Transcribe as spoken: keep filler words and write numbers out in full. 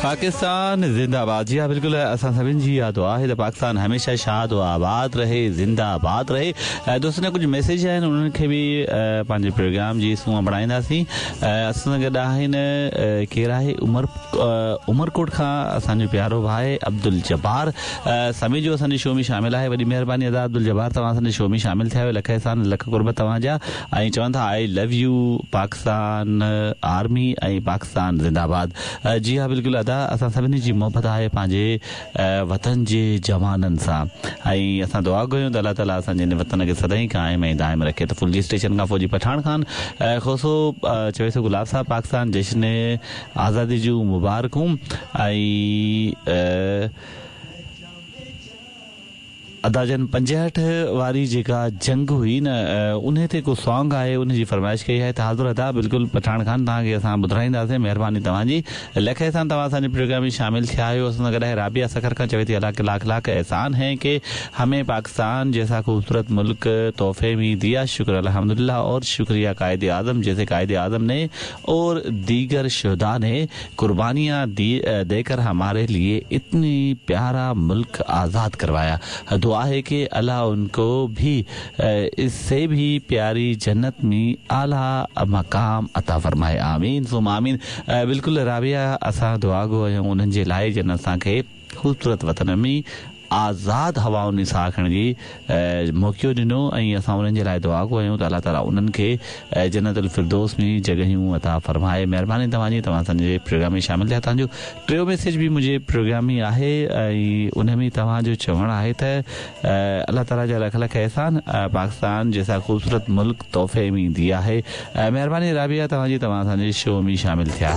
पाकिस्तान ज़िंदाबाद। जी हाँ, बिल्कुलु असां सभिनी जी इहा दुआ आहे त पाकिस्तान हमेशह शाद व आबाद रहे, ज़िंदाबाद रहे। दोस्तनि जा कुझु मैसेज आहिनि, उन्हनि खे बि पंहिंजे प्रोग्राम जी सूंहं बणाईंदासीं। असां सां गॾु आहिनि, केरु आहे? उमर उमरकोट खां असांजो प्यारो भाई अब्दुल जब्बार समीजो असांजे शो में शामिल आहे। वॾी महिरबानी अदा अब्दुल जब्बार, तव्हां असांजे शो में शामिल थिया आहियो, लख एहसान लख क़ुर्ब तव्हांजा। ऐं चवनि था I love you Pakistan army ऐं पाकिस्तान ज़िंदाबाद। जी हा, बिल्कुलु अदा, असां सभिनी जी मोहबत आहे पंहिंजे वतन जे जवाननि सां ऐं असां दुआ कयूं त अलाह ताला असांजे हिन वतन खे सदाईं क़ाइम ऐं दाइम रखे। त फुलजी स्टेशन खां फौजी पठान खान खोसो चवे थो गुलाब साहब पाकिस्तान जश्न आज़ादी जूं मुबारकूं। ऐं अदाजन पंजहठि वारी जेका जंग हुई न, उन ते को सॉन्ग आहे, उन जी फरमाइश कई आहे। त हाज़िर अदा, बिल्कुलु पठान खान, तव्हांखे असां ॿुधाईंदासीं। महिरबानी तव्हांजी, लख एहसान तव्हां असांजे प्रोग्राम में शामिल थिया आहियो। असां सां गॾु आहे राबिया सखर खां, चवे थी अल्लाह के लाख लाख एहसान है कि हमें पाकिस्तान जैसा खूबसूरत मुल्क तोहफे में दिया, शुक्र अल्हम्दुलिल्लाह और शुक्रिया कायद आज़म जैसे कायद आज़म ने और दीगर शुहदा ने कुर्बानियाँ दी देकर हमारे लिए इतनी प्यारा मुल्क आज़ाद करवाया। दुआ है कि अल्लाह उनको भी इससे भी प्यारी जन्नत में आला मकाम अता फरमाए, आमीन सुम आमीन। बिल्कुलु राबिया, असां दुआ गो आहियूं उन्हनि जे लाइ जिन असांखे ख़ूबसूरत वतन में आज़ाद हवाउनि में साह खणण जी मौक़ो ॾिनो ऐं असां उन्हनि जे लाइ दुआ गो आहियूं त अलाह ताला उन्हनि खे जन्नतुल फिरदौस में जॻहियूं अता फरमाए। महिरबानी तव्हांजी, तव्हां असांजे प्रोग्राम में शामिल थिया। तव्हांजो टियों मैसेज बि मुंहिंजे प्रोग्राम में आहे ऐं उन में तव्हांजो चवणु आहे त अलाह ताला जा लख लख एहसान, पाकिस्तान जैसा ख़ूबसूरत मुल्क तोहफ़े में दिया है। महिरबानी राबिया तव्हांजी, तव्हां असांजे शो में शामिल थिया।